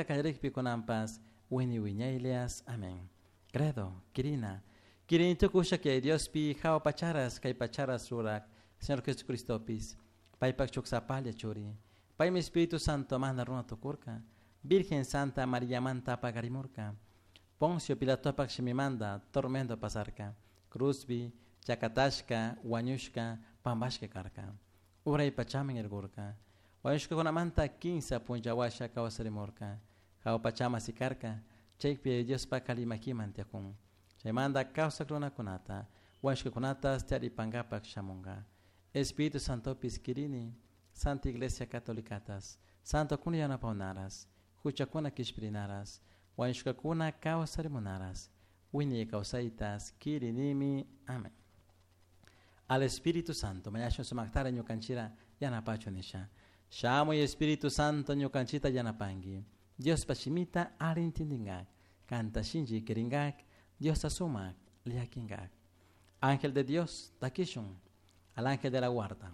Callarijpi cunanpas wiñay wiñaylias. Amén. Credo, quirina. Quirini tucusha Yaya Diospi jahua pacharas cai pacharas ruraj Señor Jesucristopis paipaj shuj sapalla churi. Paimi Espíritu Santo manda runa tucurca. Virgen Santa Mariamanta paqarimurca. Poncio Pilatopaj shimimanda tormento pasarca. Cruzpi chacatashca, huañushca, pambashca carca. Urai pachaman urcurca. Huañushcacunamanta quimsa punlla huasha causarimurca. Jahua pachaman sicarca. Chaipi Diospaj alli maquiman tiyacun. Chaimanta causaj runacunata, huañushcacunatas taripangapaj shamunga. Espíritu Santopis quirini, Santa Iglesia Catolicatas, Santocuna yanapaunaras, juchacuna quishpirinaras, huañushcacuna causarimunaras, wiñay causaitas quirinimi. Amén. Al Espíritu Santo, mañashun sumajtara ñucanchira yanapachu nisha. Shamuy Espíritu Santo ñucanchita yanapangui. Diospaj shimita alli intindingaj, canta shinlli quiringaj, Diosta sumaj llaquingaj. Ángel de Dios, taquishun, al ángel de la guarda.